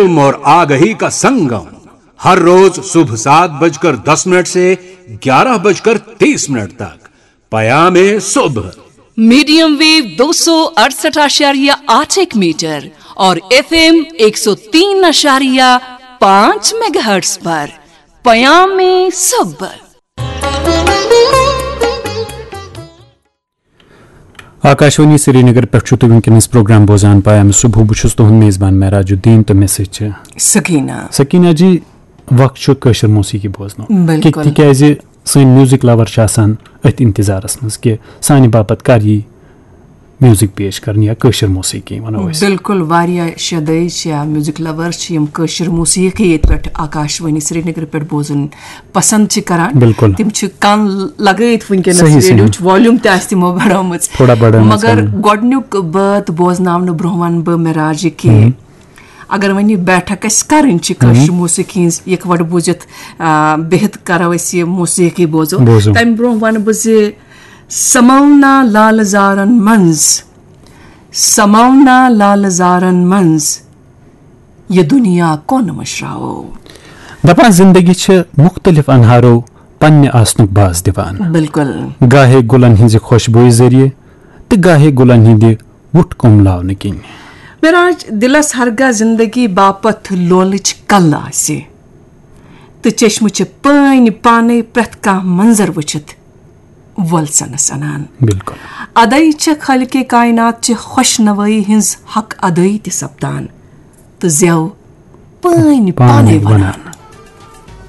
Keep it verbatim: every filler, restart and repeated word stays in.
और आगही का संगम, हर रोज सुबह सात बजकर दस मिनट से ग्यारह बजकर तीस मिनट तक। पयामे सुबह। मीडियम वेव दो सौ अड़सठ आशारिया आठ एक मीटर और एफएम एक सौ तीन आशारिया पाँच मेगाहर्ट्ज पर पयामे सुबह। آکاشوانی سرینگر پٮ۪ٹھ چھُ تُہۍ وٕنکیٚنَس پروگرام بوزان پایام صبح۔ بہٕ چھُس تُہُنٛد میزبان معراج الدین تہٕ مےٚ سۭتۍ چھِ سکینہ۔ سکینہ جی، وقت چھُ کٲشِر موسیقی بوزنُک۔ بِلکُل۔ تِکیٛازِ سٲنۍ میوٗزِک لَور چھِ آسان أتھۍ اِنتظارَس منٛز کہِ سانہِ باپَتھ کَر یی میوٗزِک پیش کَرنہٕ یا کٲشِر موسیقی وَنو أسۍ۔ بِلکُل، واریاہ شیٚے دٲے چھِ یا میوٗزِک لَور چھِ یِم کٲشِر موسیقی ییٚتہِ پٮ۪ٹھ آکاشوانی سرینگرٕ پٮ۪ٹھ بوزُن پسنٛد چھِ کران۔ بِلکُل۔ تِم چھِ کَن لگٲیِتھ وٕنکیٚنَس، صحیح، صحیح۔ ریڈیوچ والیوم تہِ آسہِ تِمو بڑٲومٕژ۔ تھوڑا بڑٲومٕژ، مگر آ۔ گۄڈٕنیُک بٲتھ بوزناونہٕ برونٛہہ وَنہٕ بہٕ معراج یہِ کہِ اگر وۄنۍ یہِ بیٹھک اَسہِ کَرٕنۍ چھِ کٲشِر موسیقی ہٕنٛز، یِکوَٹہٕ بوٗزِتھ آ، بِہِتھ کَرو أسۍ یہِ موسیقی بوزو۔ بوزو۔ تَمہِ برونٛہہ وَنہٕ بہٕ زِ سماونا لال زارن منٛز، سماونا لال زارن منٛز، یہِ دُنیا کۄن مٔشراوو۔ دپان زندگی چھِ مختلف انہارو پننہِ آسنُک باس دِوان۔ بِلکُل۔ گاہے گُلن ہٕنزِ خوشبویہِ ذٔریعہٕ تہٕ گاہے گُلن ہٕندِ وُٹھ کُملاونہٕ کِنۍ۔ معراج، دِلس ہرگاہ زندگی باپتھ لولٕچ کل آسہِ تہٕ چشمہٕ چھِ پٲنۍ پانے پرٛٮ۪تھ کانٛہہ منظر وٕچھِتھ وۄلسنس انان۔ بِلکُل۔ ادے چھےٚ خالقِ کائنات چہِ خۄش نوٲیی ہٕنٛز حق ادٲیی تہِ سپدان تہٕ زٮ۪و پٲنۍ پانے وَنان۔